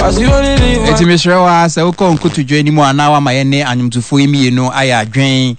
Enti mesrɛ wo ara sɛ wokɔ nkotodwe anim a na wama yɛne anwomtofoɔ yi mmienu ayɛ adwen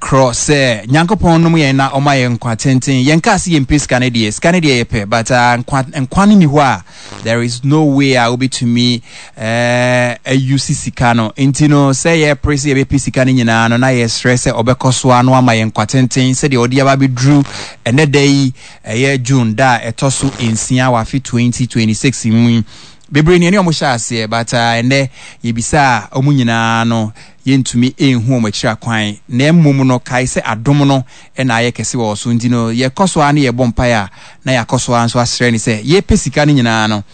korɔ sɛ Nyankopɔn nom yɛn na ɔma yɛn nkwa tenten. Yɛnkaa sɛ yɛmpɛ sika no deɛ, sika no deɛ yɛpɛ but uh, nkwa, nkwa no ni hɔ a there is no way a wobɛtumi eh, ayusi sika no. Nti no sɛ yɛpere sɛ yɛbɛpɛ sika no nyinaa no na yɛsrɛ sɛ ɔbɛkɔ so ara no ama yɛn nkwa tenten sɛdeɛ ɔde aba abɛduru ɛnɛ da yi. Ɛyɛ June da a ɛtɔ so nsia wɔ afe 2026 mu yi. Bebree ne ɛne wɔn hyɛ aseɛ but ɛnnɛ yɛbisa a wɔn nyinaa no yɛntumi nhu wɔn akyiri akwan. Na mmom no kae sɛ adom no na ayɛ kɛse wɔ wɔ so nti no yɛkɔ so ara ne yɛbɔ mpaeɛ a na yɛakɔ so ara nso asrɛ no sɛ yɛpɛ sika no nyinaa no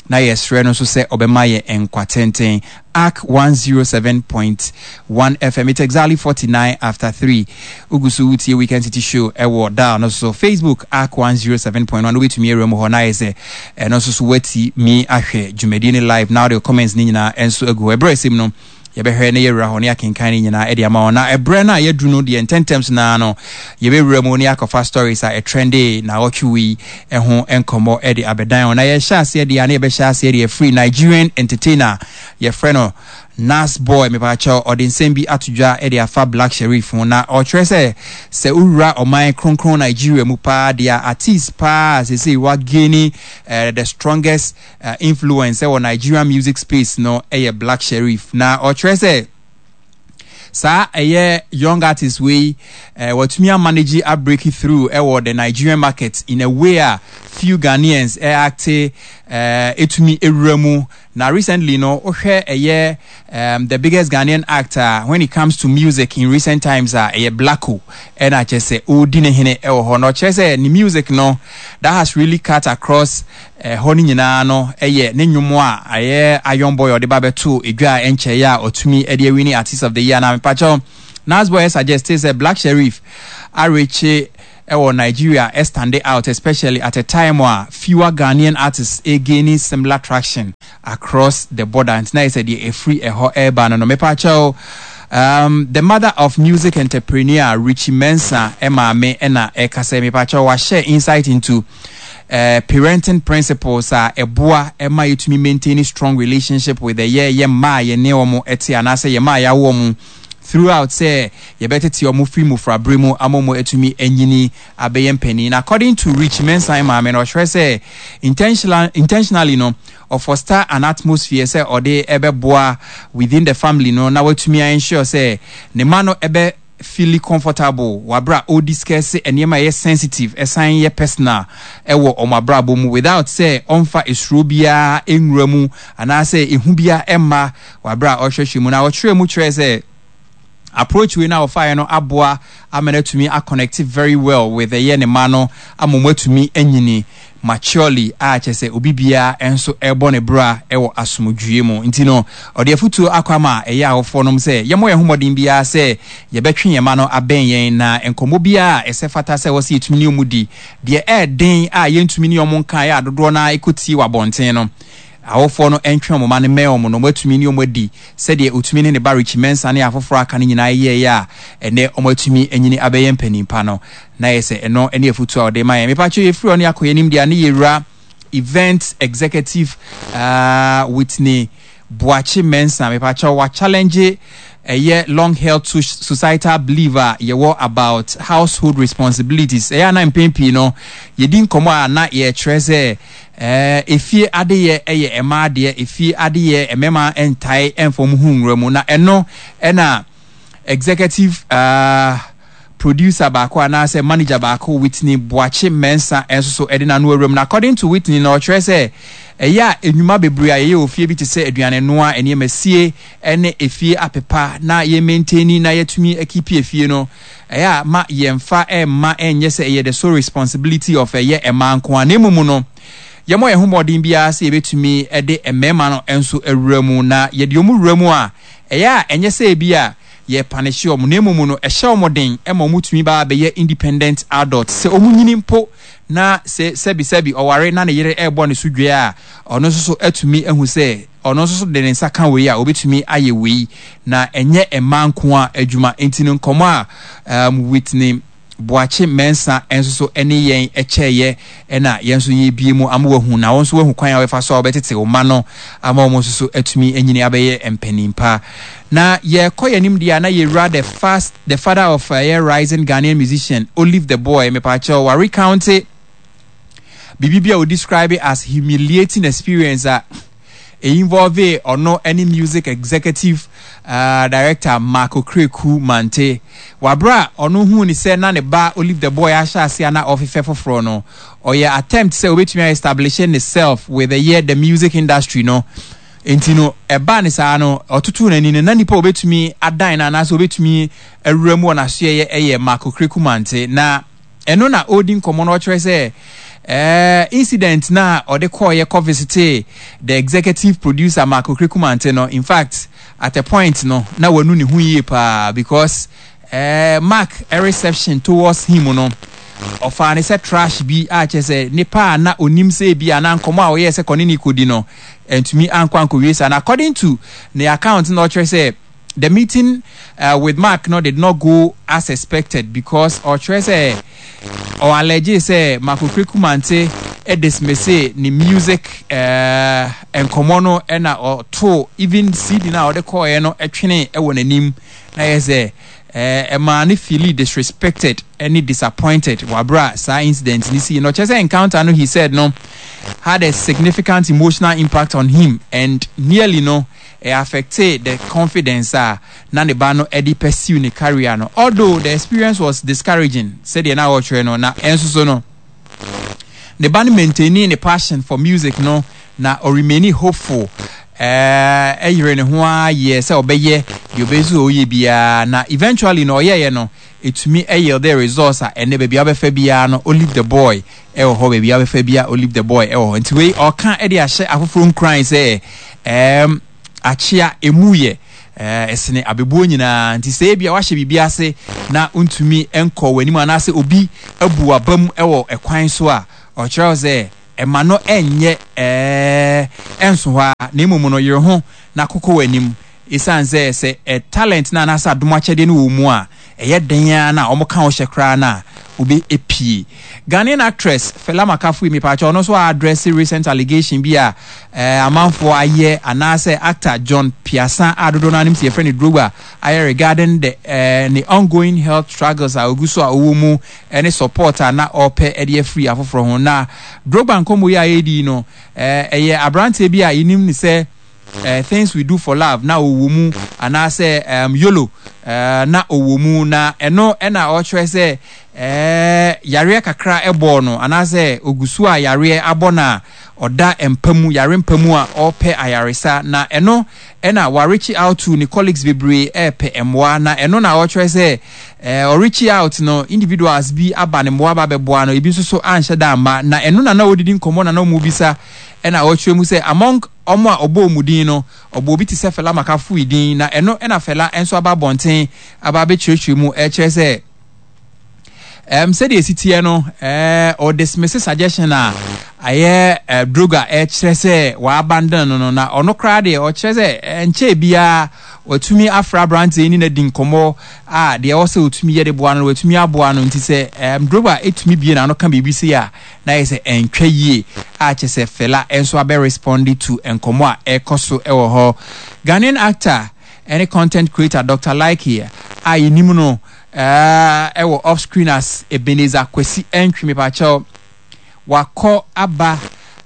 na yɛsrɛ no nso sɛ ɔbɛma yɛn nkwa tenten. Ark 107.1 FM. It's exactly 49 after 3. Wogu so wotie Weekend City Show ɛwɔ dial no so. Facebook Ark 107.1 wobɛtumi awura mu hɔ na ayɛ sɛ ɛno nso so woati mi ahwɛ dwumadie no live na wode comments no nyinaa nso agu hɔ. Ɛberɛ ɛsɛm no yɛbɛhwɛ na yɛawura hɔ na yɛakenkan ne nyinaa de ama wɔn. Na ɛberɛ no a yɛaduru no deɛ ntɛntɛm so naa no, yɛbɛwura mu na yɛakɔfa stories a ɛtrɛnde naawɔtwe wei ho nkɔmmɔ de abɛdan wɔn. Na yɛhyɛ aseɛ deɛ a na yɛbɛhyɛ aseɛ deɛ firi Nigerian entertainer yɛfrɛ no Nas Boy, mepaakyɛw, ɔde nsɛm bi ato dwa de afa Black Sherif ho. Na ɔkyerɛ sɛ sɛ wowura ɔman kronkron Nigeria mu paa deɛ a artiste paa a seesei wagaini eh, the strongest influence wɔ Nigerian music space no yɛ Black Sherif. Na ɔkyerɛ sɛ saa ɛyɛ young artist wei eh, watumi amanage a break through ɛwɔ the Nigerian market in a way a few Ghanaians eh, acte eh, etumi ewura mu. Na recently no wohwɛ ɛyɛ um, the biggest Ghanaian act a when it comes to music in recent times a ɛyɛ Blacko ɛna kyerɛ sɛ ɔredi ne hene ɛwɔ hɔ. Na ɔkyerɛ sɛ ne music no that has really cut across Ɛhɔ no nyinaa no yɛ ne nnwom a ɛyɛ Iron Boy a ɔde ba bɛtoo edwa a ɛnkyɛeɛ a ɔtumi de awini Artist of the Year na mepakyɛw Nasboy suggeste sɛ Black Sherif arekye wɔ Nigeria stande out especially at a time a fewer Ghanaian artists regaining similar traction across the border nti na ayɛ sɛ deɛ ɛfiri ɛhɔ reba no no mepakyɛw um, the mother of music entrepreneur Richie Mensah maame na ɛkasa yi mepakyɛw wahyɛ insight into eh, parenting principles a ɛboa ma yɛtumi maintain strong relationship with ɛyɛ yɛ mma a yɛne wɔn te anaasɛ yɛ mma a yɛawo wɔn throughout sɛ yɛbɛtete wɔn firi mmofrabere mu ama wɔn atumi anyini abɛyɛ mpanin. Na according to Rich Mensah maame no, ɔkyerɛ sɛ intentional, intentionally no, ɔfoster an atmosphere sɛ ɔde ɛbɛboa within the family no na watumi ensure sɛ ne mma no ɛbɛ feeli comfortable wɔ aberɛ a ɔrediscuss nneɛma a ɛyɛ sensitive ɛsan yɛ personal ɛwɔ wɔn abrabɔ mu without sɛ ɔmfa esuro biara nwura mu anaasɛ ehu biara ɛmma wɔ aberɛ a ɔrehwɛhwɛ mu. Na ɔkyerɛɛ mu kyerɛɛ sɛ approach wei no a ɔfaeɛ no aboa ama no atumi aconnect very well with ɛyɛ ne mma no ama wɔn atumi anyini maturely a kyerɛ sɛ obi biara nso rebɔ ne bra wɔ asomdwoeɛ mu. Nti no, ɔde afotuo akɔ ama ɛyɛ awofoɔ nom sɛ yɛmmɔ yɛn ho mmɔden biara sɛ yɛbɛtwe yɛn mma no abɛn yɛn na nkɔmmɔ biara a ɛsɛ fata sɛ ɛwɔ sɛ yɛtumi ne wɔn di, deɛ ɛyɛ den a yɛntumi ne wɔn nka a dodoɔ no ara kɔtie wɔ abɔnten no, awofoɔ no ntwe wɔn mma no mmɛn wɔn na wɔatumi ne wɔn adi sɛdeɛ ɔtumi ne ne ba Richie Mensah ne afoforɔ a aka no nyinaa yɛeɛ a ɛnnɛ wɔatumi anyini abɛyɛ mpanin pa no. Na yɛ sɛ ɛno ne afutuo a ɔde ma yɛn. Mepakyɛw yɛfiri hɔ no yɛakɔ yɛn anim deɛ a ne yɛwura event executive uh, Whitney Boakye Mensah. Mepakyɛw wa challenge ɛyɛ long held societal belief a yɛwɔ about household responsibilities. Ɛyɛ a na mpɛn pii no yɛdi nkɔmmɔ a na yɛkyerɛ sɛ eh, efie adeyɛ ɛyɛ mmaa adeɛ, efie adeyɛ mmarima ntae ɛmfa wɔn ho nwura mu. Na ɛno ɛna Executive uh, producer baako anaasɛ manager baako Whitney Boakye Mensah nso so de n'ano awuram. Na according to Whitney na ɔkyerɛ sɛ ɛyɛ a nnwuma bebree a yɛyɛ wɔ fie bi te sɛ aduane noa, nneɛma sie ne efie apepa na yɛ maintaini na yɛatumi akipi efie no, ɛyɛ a ma yɛmfa mma ɛnyɛ sɛ ɛyɛ the sole responsibility of ɛyɛ mmaa nko ara na mmom no yɛmmɔ yɛn ho mmɔden biara sɛ yɛbɛtumi de mmarima no nso awura mu na yɛde wɔn wura mu a ɛyɛ a ɛnyɛ sɛ ebia yɛrepanehye wɔn, na mmom no, ɛhyɛ wɔn den ma wɔtumi ba bɛyɛ independent adults. Sɛ wɔnyini mpo na sɛ sɛbisɛbi ɔware na ne yere rebɔ ne so dua a, ɔno nso so atumi ahu sɛ ɔno nso so de ne nsa ka wei a, obetumi ayɛ wei, na ɛnyɛ mmaa nko ara adwuma. Enti no nkɔmmɔ a um, Whitney. Boakye Mensah nso so ne yɛn kyɛeɛ na yɛn nso yɛrebue mu ama wahu na wo nso wahu kwan a wobɛfa so a wobɛtete wo mma no ama wɔn nso so atumi anyini abɛyɛ mpanin pa. Na yɛkɔ yɛn anim deɛ a na yɛwura the fast the father of ɛyɛ rising Ghanaian musician Olive the Boy mepaakyɛw wa recounte biribi bi a o describe as humiliating experience a involve ɔno ne music executive uh, director Mark Okraku Mante. Wabere a ɔno huu ne sɛ na ne ba Olive the Boy ahyɛ ase a na ɔfefɛ foforɔ no, ɔyɛ attempt sɛ obetumi establish ne self with the year the music industry no. Nti no, ɛbaa ne saa no, ɔtotoo n'ani no, na nipa a obetumi adan no anaasɛ obetumi awura mu wɔ n'asoɛyɛ ɛyɛ Mark Okraku Mante. Na ɛno na ɔredi nkɔmmɔ no ɔkyerɛ sɛ eh, incident na ɔde kɔɔyɛ kɔ visitee the executive producer Mark Okraku Mante no, in fact at a point no na wanu ne ho yie paa because eh, Mark reception towards him no ɔfaa ne sɛ trash bi a kyerɛ sɛ nipa a na onim sɛ ebi a na nkɔmmɔ a ɔyɛɛ sɛ kɔne ne kɔdi no ntumi ankɔ ankɔwie saa. Na according to ne account na ɔkyerɛ sɛ the meeting uh, with Mark no did not go as expected because ɔkyerɛ sɛ ɔ allege sɛ Mark Okraku Mante dismisse ne music uh, nkɔmmɔ no ɛna ɔtoo even CD no a ɔde kɔɔeɛ no ɛtwene ɛwɔ n'anim na yɛ sɛ ɛmaa no feeli disrespected ne disappointed wɔ abere a saa incident no sii no. Ɔkyerɛ sɛ encounter no he said no had a significant emotional impact on him and nearly no ɛ affectee the confidence a na ne ba no de pursue ne career no. Although the experience was discouraging sɛdeɛ na ɔrekyerɛ no, na ɛnso so no ne ba no maintainee ne passion for music no na ɔremainee hopeful ɛyere ne ho ara yɛɛ sɛ ɔbɛyɛ deɛ ɔbɛyɛ sɛ ɔyɛ biara na eventually no ɔyɛeɛ no ɛtumi yielded results a ɛnɛ baabi a wobɛfa biara no Olive the Boy ɛwɔ hɔ, baabi a wobɛfa biara Olive the Boy ɛwɔ hɔ. Nti wei ɔka de ahyɛ afoforɔ nkuran sɛ ɛɛm akyea ɛmu yɛ ɛsene abɛbuo nyinaa. Nti sɛ ebia wahyɛ biribi ase na wontumi nkɔ w'anim anaasɛ obi abu w'abam wɔ ɛkwan so a, ɔkyerɛ wo sɛ ɛma no ɛnyɛ ɛɛ ɛnso hɔ ara na mmom no yere ho na kokɔ w'anim. Esiane sɛ sɛ ɛ talent no anaasɛ adom akyɛdeɛ no wɔ wo mu a, ɛyɛ den ara na wɔka wo hyɛ koraa no a, wobɛ pue. Ghanaian actress Fela Makafui, mepaakyɛw, ɔno nso a address recent allegation bi a eh, amanfoɔ ayɛ anaasɛ actor John Piasa a dodoɔ no ara nim sɛ yɛfrɛ no Drogba ayɛ regarding the eh, ne ongoing health struggles a ɔgu so a ɔwɔ mu ne support a na ɔrepɛ de afiri afoforɔ ho. Na Drogba nkɔmmɔ yi a yɛredi yi no, eh, ɛyɛ aberanteɛ bi a yɛnim no sɛ eh, Things We Do For Love na ɔwɔ mu anaasɛ um, Yolo eh, na ɔwɔ mu na ɛno ɛna ɔkyerɛ sɛ eh, yareɛ kakra ɛbɔɔ no anaasɛ ɔgu so a yareɛ abɔ no a ɔda mpa mu yare mpa mu a ɔrepɛ ayaresa na ɛno ɛna wareach out to ne colleagues bebree ɛrepɛ mmoa na ɛno na ɔkyerɛ sɛ eh, ɔreach out no individuals bi aba ne mmoa ba bɛboa no ebi nso so anhyɛ da amma na ɛno na na ɔdidi nkɔmmɔ na na ɔmu bisa ɛna ɔkyerɛ mu sɛ among Wɔn a ɔbɔɔ wɔn din no, ɔbɔɔ obi te sɛ Fela Makafui din, na ɛno na Fela nso aba abɔnten aba abɛkyerɛkyerɛ mu rekyerɛ sɛ um, sɛdeɛ ɛsi teɛ no eh, ɔdismisse suggestion a ayɛ eh, droga ɛkyerɛ sɛ wɔabandon no no, na ɔno koraa deɛ ɔkyerɛ sɛ ɛnkyɛɛ biara watumi afra aberanteɛ ne no adi nkɔmmɔ a deɛ ɛwɔ sɛ ɔtumi yɛ de boa no no watumi aboa no. Nti sɛ um, droga ɛtumi bie n'ano ka biribi sei a, na ayɛ sɛ ɛntwa yie a kyerɛ sɛ Fela nso abɛ responde to nkɔmmɔ a ɛrekɔ so wɔ hɔ. Ghanaian actor ne content creator Doctor Likee a yɛnim no wɔ off screen as Ebenezer Kwesi Antwi mepakyɛw wakɔ aba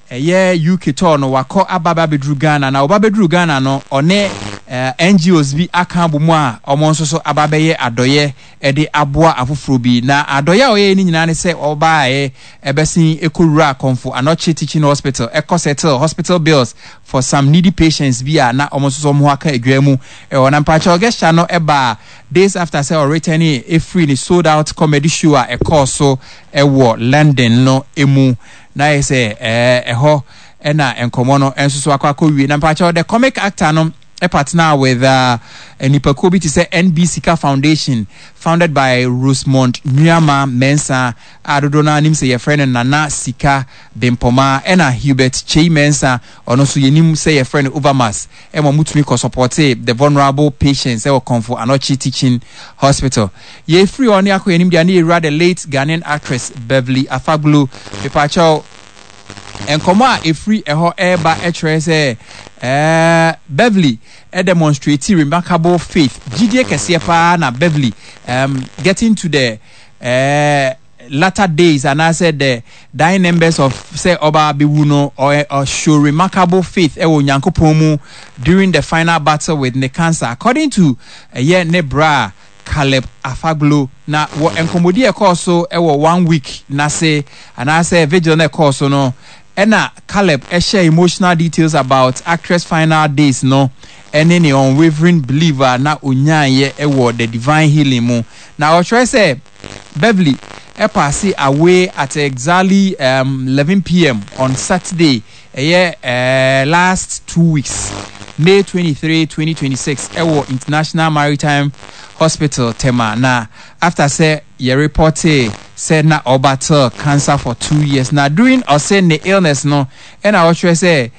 ɛyɛ UK tour no wakɔ aba aba abɛduru Ghana na ɔba bɛduru Ghana no ɔne NGOs bi aka abɔ mu a wɔn nso so aba abɛyɛ adɔyɛ de aboa afoforɔ bi. Na adɔeɛ a ɔyɛeɛ no nyinaa ne sɛ ɔbaeɛ bɛsen kɔwuraa Komfo Anokye Teaching Hospital kɔ settle hospital bills for some needy patients bi a na wɔn nso so wɔn ho aka adwaa mu wɔ hɔ. Na mpakyɛw gesture no baa days after sɛ ɔretɛnee firii ne sold out comedy show a ɛkɔɔ so wɔ London no mu. Na ayɛ sɛ ɛhɔ na nkɔmmɔ no nso so akɔ akɔwie. Na mpakyɛw the comic actor no. partner with nnipakuo bi te sɛ NB Sika Foundation founded by Rosemond Nuamah Mensah a dodoɔ no ara nim sɛ yɛfrɛ no Nana Sika Bempɔmaa ɛna Hubert Kyei Mensah ɔno nso yɛnim sɛ yɛfrɛ no Overmass ɛma wɔtumi kɔ sɔpɔtee the vulnerable patients ɛwɔ Komfo Anokye Teaching Hospital. Yɛfiri hɔ ne akɔ yɛn anim deɛ ne yɛwura the late Ghanaian actress Beverly Afaglo. Mepaakyɛw, nkɔmmɔ a ɛfiri ɛhɔ ɛreba kyerɛ sɛ ɛɛ Beverly demonstrate remarkable faith, gyidie kɛseɛ paa na Beverly getting to the ɛɛ latter days anaasɛ the dying members of sɛ ɔba abɛwu no ɔ show remarkable faith ɛwɔ Onyankopɔn mu during the final battle with ne cancer according to ɛyɛ ne bra Caleb Afaglo. Na wɔ nkɔmmɔdi a ɛkɔɔ so wɔ one week n'ase anaasɛ vigil no ɛkɔɔ so no ɛna Caleb ɛhyɛ emotional details about actress final days no ɛne ne unwavering belief a na onyaeɛ ɛwɔ the divine healing mu. Na ɔkyerɛ sɛ Beverly paase away at exactly 11 p.m. on Saturday, ɛyɛ last 2 weeks, May 23, 2026, ɛwɔ International Maritime Hospital, Tema, na after sɛ yɛ reportee sɛ na ɔbattle cancer for 2 years. Na during ɔsɛ ne illness no, ɛna ɔkyerɛ sɛ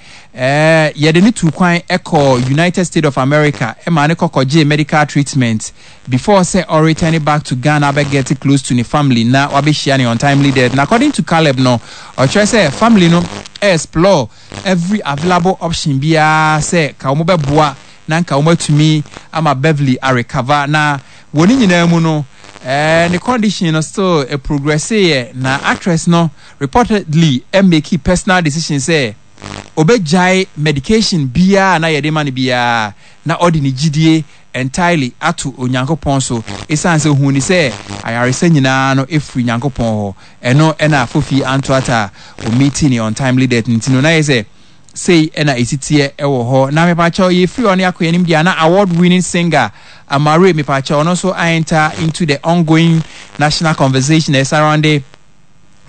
yɛde ne tu kwan ɛkɔ United States of America ɛma ne kɔkɔgye medical treatment before sɛ ɔreturn back to Ghana abɛ get close to ne family na wabɛhyia ne untimely death. Na according to Caleb no, ɔkyerɛ sɛ family no explore every available option biara sɛ ka wɔn bɛboa na nka wɔn atumi ama Beverly arecover. Na wɔ ne nyinaa mu no, ne condition no still progress yɛ, na actress no reportedly make personal decision sɛ obɛgyae medication biara na yɛde ma no biara na ɔde ne gyidie entirely ato Onyankopɔn so, ɛsiane sɛ ohuu ne sɛ ayaresa nyinaa no ɛfiri Nyankopɔn hɔ. Ɛno ɛna Fofi Antoata a ɔmeeti ne untimely death. Nti no na yɛ sɛ sei ɛna ɛsi teɛ ɛwɔ hɔ. Na mepakyɛw, yɛfiri hɔ ne akɔ anim deɛ, na award winning singer Amare, mepakyɛw, ɔno nso enter into the ongoing national conversation ɛsurrounding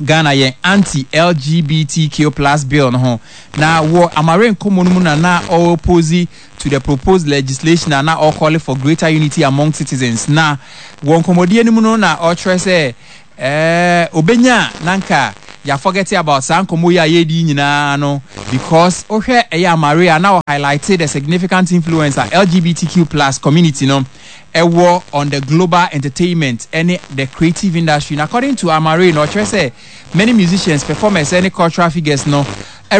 Ghana yɛn anti-LGBTQ+ bill no ho. Na wɔ Amare nkɔmmɔ no mu na na ɔoppose to the proposed legislation a na ɔcall for greater unity among citizens. Na wɔ nkɔmmɔdie no mu no na ɔkyerɛ sɛ obenya na nka yɛaforget about saa nkɔmmɔ yi a yɛredi nyinaa no, because wohwɛ ɛyɛ Amare a na ɔhighlight the significant influence a LGBTQ+ community no ɛwɔ on the global entertainment ɛne the creative industry. Na according to Amare no, ɔkyerɛ sɛ many musicians, performers ɛne cultural figures no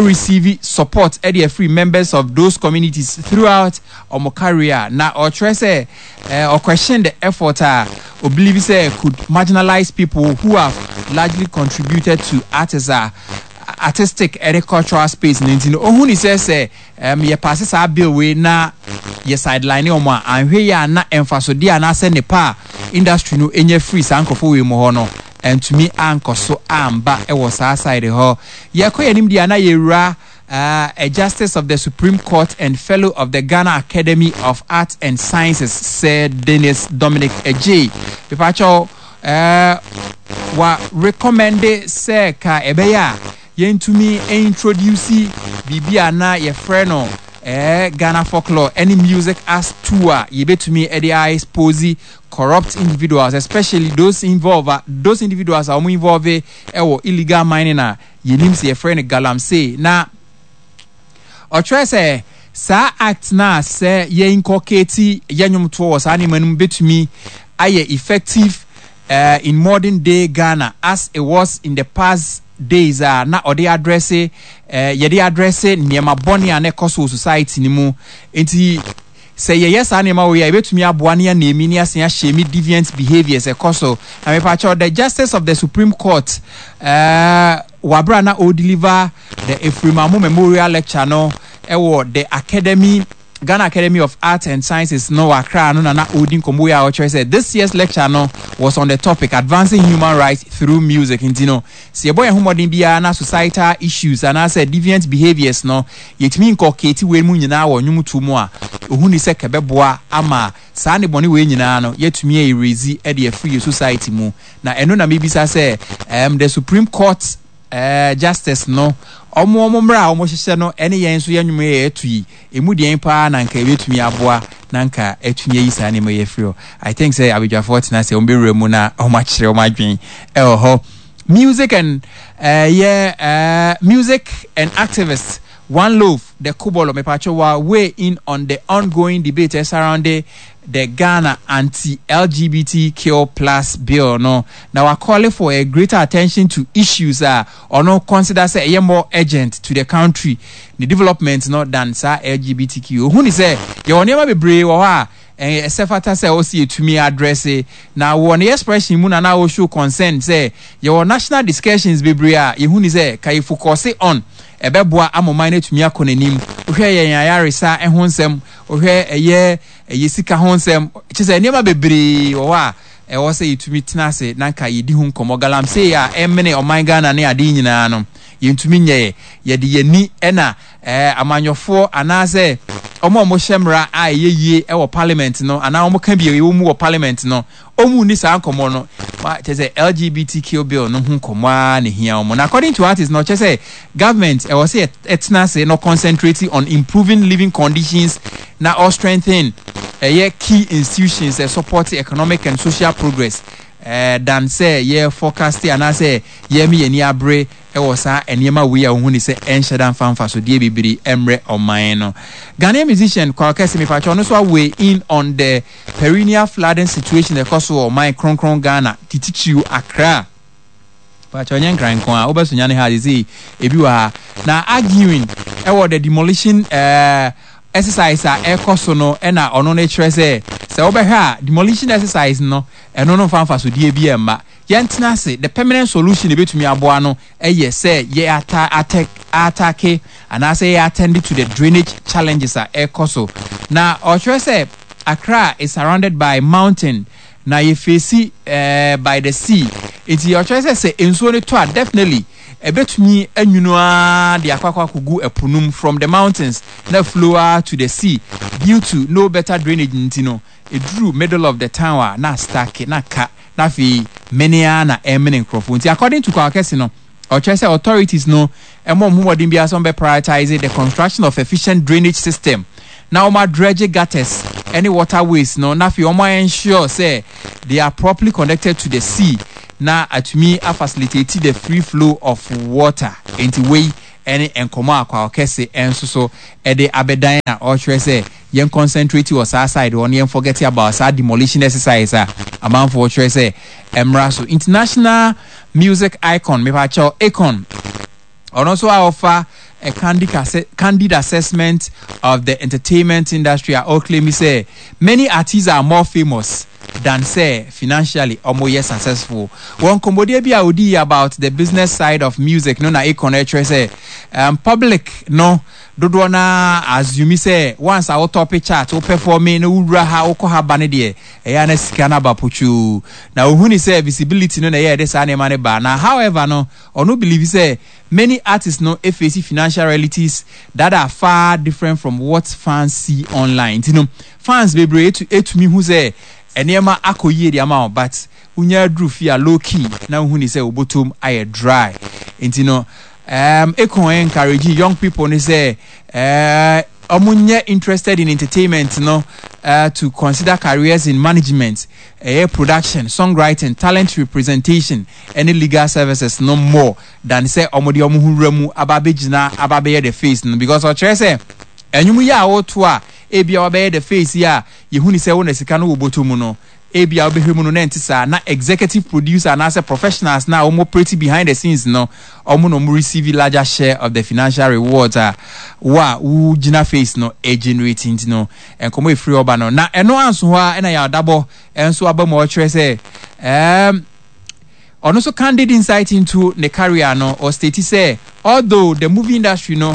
receive support ɛde afiri members of those communities throughout ɔmo career. Na ɔkyerɛ sɛ ɔquestion the effort a obelieve sɛ could marginalize people who have largely contributed to artists a artistic ɛne cultural space no. Nti no ohun ni sɛ yɛ pass saa bill wei na yɛ sideline wɔn a, anhwɛ yi a na mfasodeɛ anaasɛ nepa a industry no nya firi saa nkurɔfoɔ wei mu hɔ no ntumi ankɔ so amba wɔ saa side hɔ. Yɛkɔ yɛn anim deɛ a, na yɛwura a Justice of the Supreme Court and Fellow of the Ghana Academy of Arts and Sciences, Sir Dennis Dominic Adjei, mepakyɛw, wa recommende sɛ ka ɛbɛyɛ a yɛntumi introduce biribi a na yɛfrɛ no Ghana folklore ɛne music as tool a yɛbɛtumi de expose corrupt individuals, especially those involved, those individuals a wɔn involve ɛwɔ illegal mining a yɛnim sɛ yɛfrɛ no galamsey. Na ɔkyerɛ sɛ saa act na sɛ yɛ inculcate yɛ nnwomtoɔ wɔ saa nneɛma no mu bɛtumi ayɛ effective in modern day Ghana as it was in the past days a na ɔde address yɛde address nneɛma bɔne a na ɛkɔ so wɔ society no mu. Nti sɛ yɛyɛ saa nneɛma wɔ yi a, yɛbɛtumi aboa ne anemi ne asen ahyɛ deviant behaviours ɛkɔ so. Na mepakyɛw, the Justice of the Supreme Court wabra na ɔdeliver the Ephraim Amu Memorial Lecture no ɛwɔ the Academy Ghana Academy of Arts and Sciences no wɔ Accra no, na ɔredi nkɔmmɔ yi a ɔkyerɛ sɛ this year's lecture no was on the topic "Advancing Human Rights Through Music". Nti no sɛ yɛbɔ yɛn ho mmɔden biara na societal issues anaasɛ deviant behaviours no yɛtumi inculcate wei mu nyinaa wɔ nnwomtoɔ mu a, ohun ni sɛ kɛbɛboa ama saa ne bɔne wei nyinaa no yɛatumi erase de afiri yɛ society mu. Na ɛno na mebisa sɛ the Supreme Court eh, justice no, wɔn wɔn mmara a wɔhyehyɛ no ne yɛn nso yɛn nnwom yɛ yɛto yi, emu deɛn paa na nka ɛbɛtumi aboa na nka atumi ayi saa nneɛma yi afiri hɔ. I think sɛ abadwafoɔ tena ase, wɔbɛwura mu na wɔakyerɛ wɔn adwene ɛwɔ hɔ. Music and uh, yeah, uh, music and activists One Love, the Kubolo, mepacho wa weigh in on the ongoing debate surrounding the Ghana anti-LGBTQ plus bill no na wa call for a greater attention to issues a ɔno consider sɛ ɛyɛ more urgent to the country ne development no than saa LGBTQ. Ohun ne sɛ yɛwɔ nneɛma bebree wɔ hɔ a ɛsɛ fata sɛ ɔsi etumi address na wɔ ne expression mu na na o show concern sɛ yɛwɔ national discussions bebree a yɛhu ne sɛ ka yɛ focus on ɛbɛboa ama ɔman no atumi akɔ n'anim. Wohwɛ yɛn ayaresa ho nsɛm, wohwɛ ɛyɛ ɛyɛ sika ho nsɛm, kyerɛ sɛ nneɛma bebree wɔ hɔ a ɛwɔ sɛ yɛtumi tena ase na nka yɛdi ho nkɔmmɔ. Galamsey a ɛmene ɔman Ghana ne adeɛ nyinaa no, yɛntumi nyɛɛ. Yɛde yɛn ani na ɛɛ amanyɔfoɔ anaasɛ wɔn a wɔhyɛ mmara a ɛyɛ yie wɔ parliament no anaa wɔka bi a ɛwɔ mu wɔ parliament no, wɔn nni saa nkɔmmɔ no. Ma kyerɛ sɛ LGBTQ bill no ho nkɔmmɔ ara na ehia wɔn. Na according to artist no, ɔkyerɛ sɛ government ɛwɔ sɛ ɛtena ase na concentrate on improving living conditions na ɔ strengthen ɛyɛ key institutions ɛ support economic and social progress eh, than sɛ yɛ forecast anaasɛ yɛme yɛn ani abere wɔ saa nneɛma wei a wohu ne sɛ ɛnhyɛ da mfa mfasodeɛ bebree mmrɛ ɔman no. Ghanaian musician Kwaw Kɛse mepakyɛ ɔno nso a weigh in on the perennial flooding situation ɛkɔ so wɔ ɔman kronkron Ghana, tititiriw Accra. Pakyɛ ɔnyɛ nkran nko a, wobɛ Sunyani ha sesei ebi wɔ ha. Na arguing ɛwɔ the demolition eh, exercise a ɛkɔ so no ɛna ɔno no kyerɛ sɛ sɛ wobɛhwɛ a demolition exercise no ɛno no mfa mfasodeɛ bi ɛmma. Yɛntena ase, the permanent solution ebetumi aboa no ɛyɛ sɛ yɛ ata atɛ atake anaasɛ yɛ attend to the drainage challenges a ɛkɔ so. Na ɔkyerɛ sɛ Accra is surrounded by mountain na yɛ face eh, by the sea nti ɔkyerɛ sɛ sɛ nsuo no tɔ a definitely ɛbɛtumi anwunu ara de akɔ akɔ akɔgu ɛpo no mu from the mountains na flow ara to the sea due to no better drainage nti no ɛduru middle of the town a na stuck na ka na afei mene ara na ɛmene nkurɔfoɔ nti according to Kwaw Kɛse no ɔkyerɛ sɛ authorities no mmɔ wɔn ho mmɔden biara sɛ wɔbɛ prioritize the construction of efficient drainage system na wɔn adredge gutters ne waterways no na afei wɔn ensure sɛ they are properly connected to the sea na atumi a facilitate the free flow of water. Enti wei ne nkɔmmɔ a Kwaw Kɛse nso so de abɛdan a ɔrekyerɛ sɛ yɛn concentrate wɔ saa side hɔ na yɛn forget about saa demolition exercise a amanfoɔ kyerɛ sɛ ɛmmra so. International music icon mepakyɛw Akon ɔno nso a ɔfa a candid, candid assessment of the entertainment industry a ɔclaim sɛ many artists are more famous than sɛ financially ɔmo yɛ successful. Wɔ nkɔmmɔdie bi a ɔdii about the business side of music no na Akon ɛkyerɛ sɛ um, public no dodoɔ no ara assume sɛ once a wo tope chart, wo performe na wowura ha wokɔ ha ba no deɛ ɛyɛ a na sika no aba potwoo. Na ɔhuni sɛ visibility no na ɛyɛ a ɛde saa nneɛma no ba. Na however no ɔno believe sɛ many artists no face financial realities that are far different from what fans see online. Nti no fans bebree tumi hu sɛ nneɛma akɔ yie de ama wo but wonya aduru fie a low key na wohu ne sɛ wo bɔtɔm ayɛ dry. Nti no um, Akon encourage young people ne sɛ uh, ɔmo nyɛ interested in entertainment no uh, to consider careers in management, ɛyɛ production, songwriting, talent representation ɛne legal services no more than sɛ ɔmo de ɔmo ho wura mu aba abɛgyina aba abɛyɛ the face no because ɔkyerɛ sɛ ɛnwom yi a woto a ebia wabɛyɛ the face yi a yɛhu ne sɛ wo na sika no wɔ bɔtɔ mu no ebia wobɛhwɛ mu no na ɛnte saa na executive producer anaasɛ professionals na wɔn operate behind the scenes no wɔn na wɔn receive larger share of the financial rewards a wo a wogyina face no generate nti no nkɔmɔ efiri ɔba no na ɛno anso hɔ a ɛna yɛ adabɔ nso aba mu a ɔkyerɛ sɛ ɛɛm ɔno nso candid insight into ne career no ɔstate sɛ although the movie industry no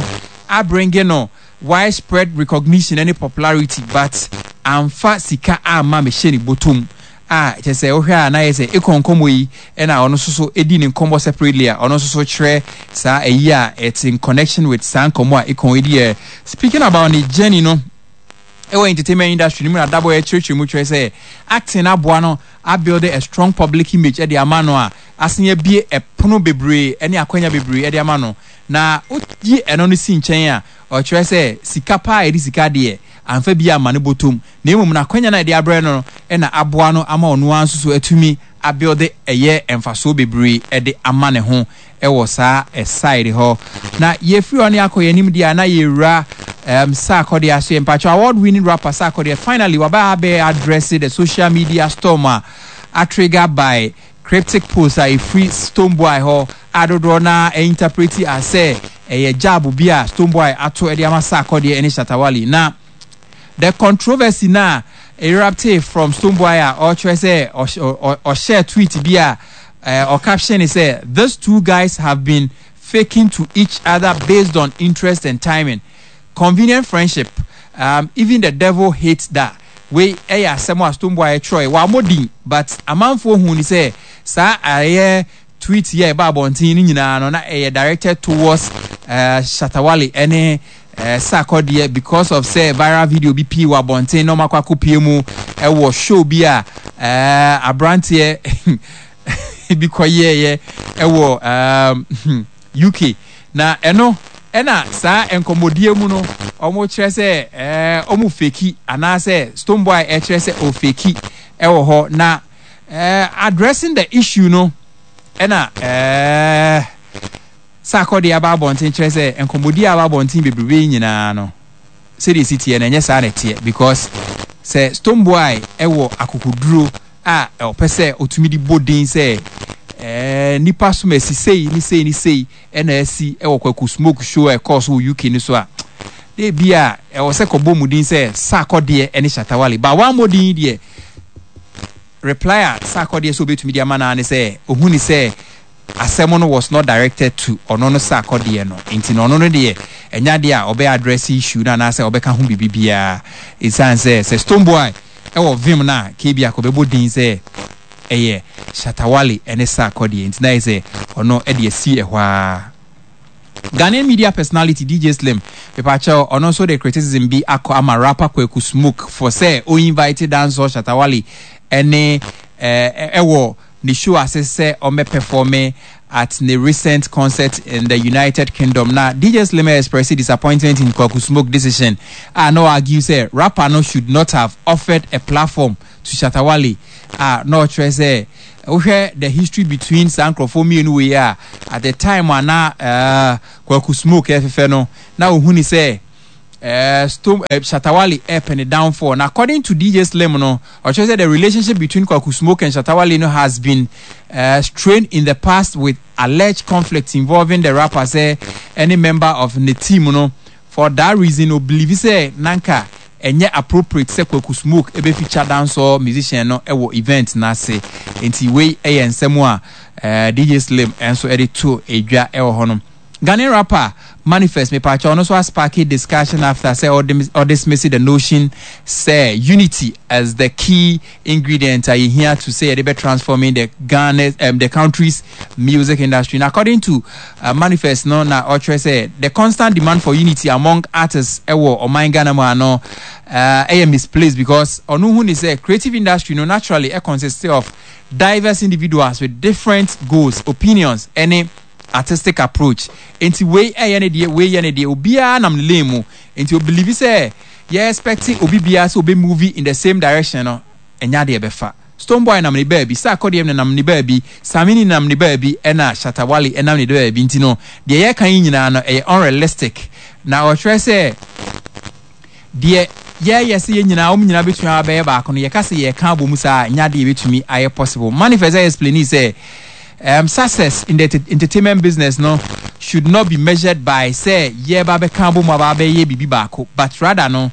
abringe no widespread recognition ne popularity but amfa sika amma mehyɛ ne bɔtɔm a kyerɛ sɛ wohwɛ a na ayɛ sɛ Akon nkɔmmɔ yi na ɔno nso so di ne nkɔmmɔ separately a ɔno nso so kyerɛ saa ayi a it's in connection with saa nkɔmmɔ a Akon di ɛ. Speaking about ne journey no. Ɛwɔ entertainment industry no mu na Dabɔ ɛkyerɛkyerɛ mu kyerɛ sɛ acting aboa no abuild a strong public image de ama no a asen abue ɛpono bebree ne akwanya bebree de ama no. Na woyi ɛno no si nkyɛn a, ɔkyerɛ sɛ sika paa a yɛde sika deɛ amfa bi amma ne bɔtɔm na mmom no akwanya no a yɛde abrɛ no no na aboa no ama ɔno ara nso so atumi abuild ɛyɛ mfasoɔ bebree de ama ne ho wɔ saa side hɔ. Na yɛfiri hɔ ne akɔ yɛn anim deɛ a na yɛwura um, Sarkodie aso yɛ mpakyɛw award winning rapper Sarkodie finally waba abɛ address the social media storm a atrigger by cryptic post a ɛfiri Stonebwoy hɔ a dodoɔ no ara interpreti as sɛ ɛyɛ jab bi a Stonebwoy ato de ama Sarkodie ne Shatta Wale. Na the controversy no a eruptee from Stonebwoy a ɔrekyerɛ sɛ ɔhyɛɛ tweet bi a ɔcaption ne sɛ these two guys have been faking to each other based on interest and timing. Convenient friendship, even the devil hates that. Wei yɛ asɛm a Stonebwoy twerɛe. Wammɔ din but amanfoɔ huu no sɛ saa ɛyɛ tweet yi a ɛba abɔnten no nyinaa no na ɛyɛ directed towards Shatta Wale ne Sarkodie because of sɛ viral video bi pii wɔ abɔnten na wɔakɔ akɔpie mu wɔ show bi a aberanteɛ bi kɔyɛeɛ wɔ UK. Na ɛno ɛna saa nkɔmmɔdie mu no wɔkyerɛ sɛ ɛɛ wɔn feki anaasɛ Stonebwoy ɛkyerɛ sɛ ɔfeki ɛwɔ hɔ na ɛɛ addressing the issue no ɛna ɛɛ Sarkodie aba abɔnten kyerɛ sɛ nkɔmmɔdie a aba abɔnten bebrebe yi nyinaa no sɛdeɛ ɛsi teɛ no ɛnyɛ saa na ɛteɛ because sɛ Stonebwoy ɛwɔ akokoduro a ɔpɛ sɛ ɔtumi de bɔ din sɛ ɛɛ nipa som asi sei ne sei ne sei ɛna asi wɔ Kwaku Smoke show a ɛkɔɔ so wɔ UK no so a, na ebi a ɛwɔ sɛ kɔbɔ mu din sɛ Sarkodie ne Shatta Wale. Ba wammɔ din yi deɛ, reply a Sarkodie sɛ obetumi de ama no ara ne sɛ ohu ne sɛ asɛm no was not directed to ɔno no Sarkodie no. Nti no ɔno no deɛ ɛnyɛ adeɛ a ɔbɛ address issue no anaasɛ ɔbɛka ho biribi biara. Esiane sɛ sɛ Stonebwoy wɔ vim no a, kebia kɔbɛbɔ din sɛ ɛyɛ Shatta Wale ne Sarkodie nti na ayɛ sɛ ɔno de asi ɛhɔ ara. Ghanaian media personality DJ Slim, mepakyɛw, ɔno nso de criticism bi akɔ ama rapper Kweku Smoke for sɛ o invite dancehall Shatta Wale ne ɛwɔ ne show ase sɛ ɔmmɛ performe at ne recent concert in the United Kingdom. Na DJ Slim express disappointment in Kwaku Smoke decision a na ɔargue sɛ rapper no should not have offered a platform to Shatta Wale a na ɔkyerɛ sɛ wohwɛ the history between saa nkurɔfoɔ mmienu wei a at the time a na uh, Kwaku Smoke ɛfefɛ no na ohun ni sɛ uh, Stom, uh, Shatta Wale ɛpɛ ne downfall na according to DJ Slim no ɔkyerɛ sɛ the relationship between Kwaku Smoke and Shatta Wale no has been uh, strained in the past with alleged conflicts involving the rapper sɛ any member of the team no. For that reason o believe sɛ nanka ɛnyɛ appropriate sɛ Kwaku Smoke bɛ feature dancehall musician no wɔ event no ase. Nti wei yɛ nsɛm a DJ Slim nso de to dwa wɔ hɔ no. Ghanaian rapper Manifest mepaakyɛw ɔno nso asparke discussion after sɛ ɔdismiss the notion sɛ unity as the key ingredient a yɛhia to sɛ yɛde bɛ transforming the Ghana the country's music industry. Na according to manifest no na ɔkyerɛ sɛ the constant demand for unity among artists ɛwɔ ɔman Ghana mu ano ɛyɛ misplaced because ɔno hu ne sɛ creative industry no naturally ɛ consist of diverse individuals with different goals, opinions ɛne artistic approach. Nti wei ɛyɛ ne deɛ, wei yɛ ne deɛ, obiara nam ne lane mu. Nti o believe sɛ yɛ expect obi biara sɛ obe move in the same direction no ɛnyɛ adeɛ ɛbɛfa. Stonebwoy nam ne baabi, Sarkodie nenam ne baabi, Samini nenam ne baabi ɛna Shatta Wale ɛnam ne baabi nti no deɛ yɛka yi nyinaa no ɛyɛ unrealistic. Na ɔkyerɛ sɛ deɛ yɛyɛ sɛ yɛn nyinaa wɔn nyinaa bɛtumi abɛyɛ baako no yɛka sɛ yɛka abɔ mu saa a ɛnyɛ adeɛ yɛbɛtumi ayɛ possible. Manifest explaini sɛ success in the entertainment business no should not be measured by sɛ yɛreba abɛka abɔ mu aba abɛyɛ biribi baako but rather no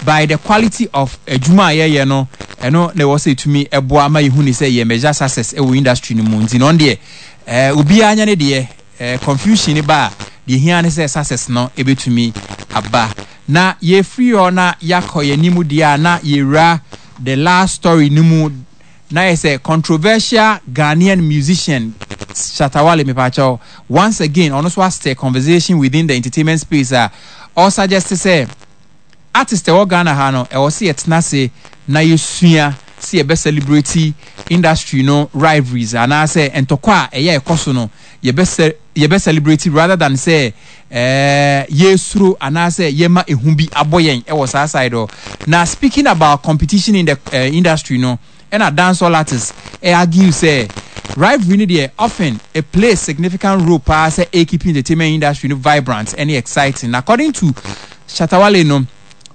by the quality of adwuma a yɛyɛ no ɛno na ɛwɔ sɛ ɛtumi ɛboa ma yɛhu ne sɛ yɛ measure success ɛwɔ industry no mu nti no ɔno deɛ eh, obiara nyɛ ne deɛ eh, confusion no ba a deɛ hia ne sɛ success no ɛbɛtumi aba na yɛfiri hɔ na yɛakɔ yɛn anim deɛ a na yɛwura the last story no mu. Na yɛ sɛ controversial Ghanaian musician Shatta Wale mepaakyɛw once again ɔno nso astir conversation within the entertainment space a ɔsuggest sɛ Artist ɛwɔ Ghana ha no, ɛwɔ sɛ yɛtena ase na yɛsua sɛ yɛbɛ celebrate industry no rivalries anaasɛ ntɔkwa a ɛyɛ a ɛkɔ so no, yɛbɛ yɛbɛ celebrate rather than sɛ ɛɛ yɛsuro anaasɛ yɛma ehu bi abɔ yɛn ɛwɔ saa side hɔ. Na speaking about competition in the uh, industry no, ɛna dancehall artists ɛ argue sɛ rivalry no deɛ often it plays significant role paa sɛ ɛ keep entertainment industry no vibrant ɛne exciting. Na according to Shatta Wale no,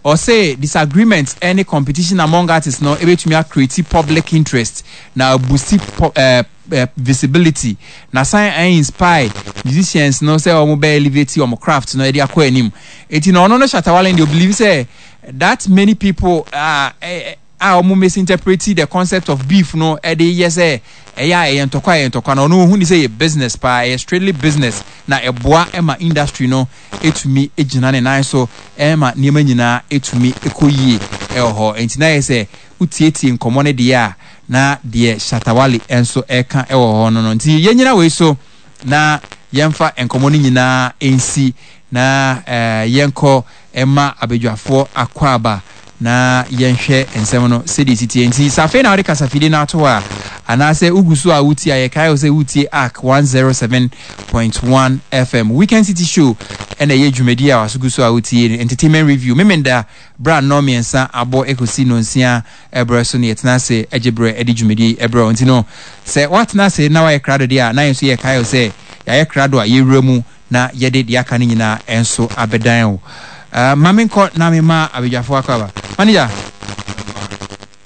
ɔse disagreement ɛne competition among artists no ɛbɛtumi a create public interest na boost eh, eh, visibility na san ɛ inspire musicians no sɛ wɔn bɛ elevate wɔn craft no ɛde akɔ anim. Eti na ɔno no Shatta Wale deɛ ɔbelieve sɛ that many people ah, eh, a wɔn misinterpreti the concept of beef no de yɛ sɛ ɛyɛ a ɛyɛ ntɔkwa ɛyɛ ntɔkwa no, ɔno ɔhu ne sɛ ɛyɛ business paa, ɛyɛ strictly business na ɛboa ma industry no tumi gyina ne nan so ma nneɛma nyinaa tumi kɔ yie wɔ hɔ. Nti na ayɛ sɛ wotietie nkɔmmɔ no deɛ a na deɛ Shatta Wale nso reka wɔ hɔ no no. Nti yɛnyina wei so na yɛmfa nkɔmmɔ no nyinaa nsi na yɛnkɔ mma abadwafoɔ akwaaba na yɛnhwɛ nsɛm no sɛdeɛ ɛsi teɛ. Nti sɛ afei na wode kasafidie no ato hɔ a, anaasɛ wogu so a wotie a, yɛkae wo sɛ woretie Ark 107.1 FM. Weekend City Show ɛna ɛyɛ dwumadie a waso gu so a wotie no. Entertainment Review, Memenda berɛ a nnɔn mmiɛnsa abɔ ɛkɔsi nnɔnsia berɛ so no yɛtena ase gye berɛ de dwumadie yi brɛ wo. Nti no sɛ woatena ase na woayɛ krado deɛ a, na yɛn nso yɛkae wo sɛ yɛayɛ krado a yɛwura mu na yɛde deɛ aka no nyinaa nso abɛdan wo. Uh, ma menkɔ na mema abadwafoɔ akɔ aba. Manager,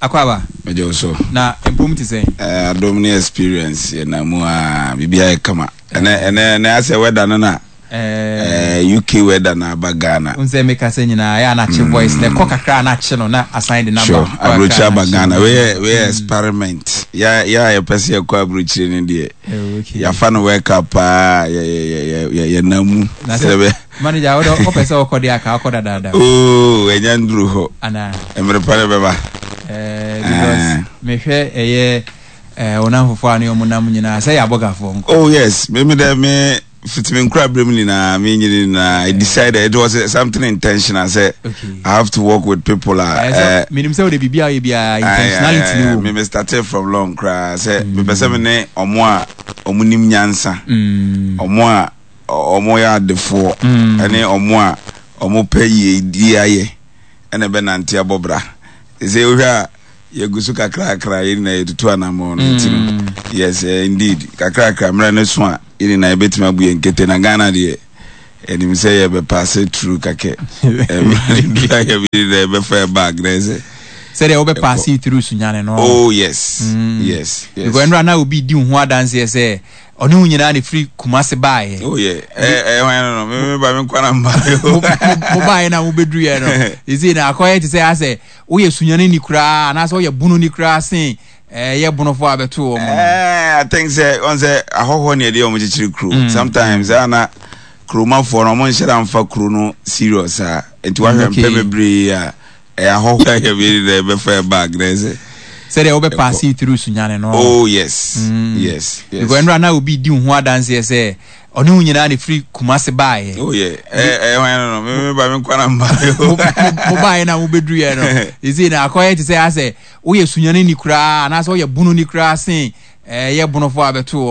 akɔ aba. Megye wo so. Na mpom te sɛn? Eh, adom ne experience yɛnam mu a biribiara yɛ kama. Ɛnɛ ɛnɛ ɛnɛ asɛ weather no na eh, UK weather na aba Ghana. N sɛ meka sɛ nyinaa ɛyɛ anakye voice na ɛkɔ kakra anakye no na asan de naba. Sure, aburokyire aba Ghana. Wei yɛ wei yɛ experiment. Ya ya yɛpɛ sɛ yɛkɔ aburokyire no deɛ. Eh, Yɛafa no World Cup paa yɛ yɛ yɛ yɛ yɛ nam mu. Na sɛ manager wode wopɛ sɛ wokɔ deɛ aka wokɔ dadaada. Oo ɛnya nduru hɔ. Ana. Mmerɛ pa no bɛba. Eh, because eh. mehwɛ ɛyɛ eh, wɔn afofoɔ a ne wɔn nam nyinaa sɛ yɛ abɔgafoɔ nko. Oh yes, me me dɛ me fiti me nkura berɛ mu nyinaa me nyini nyinaa I decided it was something intentional sɛ okay. I have to work with people a. Eh, menim sɛ wode biribi a woyɛ biara intentionality ne wɔ mu. Me me started from long koraa sɛ mm. mepɛ sɛ me ne ɔmo a ɔmo nim nyansa mm. ɔmo a ɔmo yɛ adefoɔ mm. ɛne ɔmo a ɔmo pɛ yiedie ayɛ ɛna ɛbɛnante abɔ bra sɛ wohwɛ a yɛgu so kakrakra yɛn nyinaa yɛtutu anammɔn no nti no yes eh, indeed kakrakra mmerɛ no so a yɛn nyinaa yɛbɛtumi abu yɛn kete na Ghana deɛ ɛnim sɛ yɛbɛpaase turu kakɛ yɛbɛfa yɛ bag na ɛsɛ sɛdeɛ wobɛpaase through sunyane no oh yes mm. yes yes because ɛnora na obi di wo ho adanseɛ sɛ ɔne wo nyinaa na ɛfiri Kumase baeɛ oh yeah ɛɛ hwan no no me me ba me nkwa na mba mo baeɛ na mobɛduruiɛ no ɛsei na akɔyɛ te sɛ asɛ Woyɛ Sunyani koraa anaasɛ woyɛ Bononi koraa sen ɛyɛ Bonofoɔ a bɛtoo wɔn no? Eh, I think sɛ ɔn sɛ ahɔhoɔ ne ɛde wɔn kyekyere kuro. Mm. Sometimes ɛyɛ na kuromafoɔ no wɔn nhyɛ da nfa kuro no serious a nti wahwɛ mpɛ bebree a ɛyɛ ahɔhoɔ a yɛ bi na ɛbɛfa yɛ bag na ɛsɛ. Sɛdeɛ wobɛ paase through Sunyani no. Oh yes, mm. yes, yes. Because ɛnora na obi di wo ho adanseɛ sɛ ɔne wo nyinaa na ɛfiri Kumase baeɛ. Oh yeah, ɛɛ ɛɛ hwan no no, me me ba me nkwa na mba. Mo baeɛ na mobɛduruiɛ no, ɛsei na akɔyɛ te sɛ asɛ woyɛ Sunyani ni koraa anaasɛ woyɛ Bono ni koraa sen ɛyɛ Bonofoɔ a bɛtoo wɔn.